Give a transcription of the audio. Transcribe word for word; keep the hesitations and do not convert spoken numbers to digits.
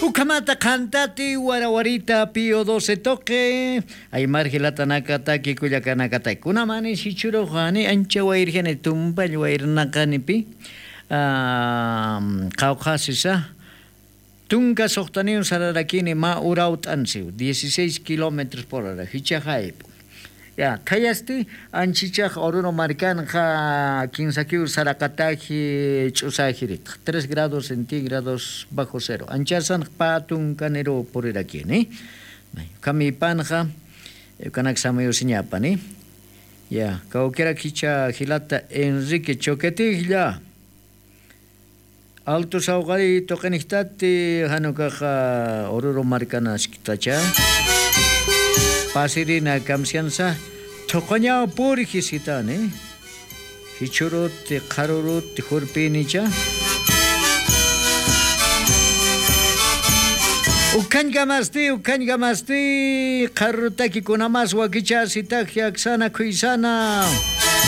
Ukhamata qhantati warawarita pío doce toqi. Aymar jilatanakataki kullakanakataki kunamani sichurux ani ancha wayrjani tumpall wayrnaqanipi. Qawqhasisa tunka suxtaniw sararakini mä urawt'ansiw dieciséis kilómetros por hora jichhaxaypu. Ya khayasti anchichax ururu markanxa kinsakiw saraqataji ch'usajiritx tres grados centígrados bajo cero anchasanx pä tunkaniruw purirakini. Ukhamipanxa ukanak samayusiñapani. Ya kawkirak jichha jilata enrique choquetijlla. Altu sawqariy tuqinijtati janukaxa ururu markanasktachä. Pasirina kamsiansa thuqañaw purji sitani. Jichhuruti qharuruti jurpinicha. Ukhañkamasti ukhañkamasti qharurutaki kunamas wakichä sitaji aksana khuysana.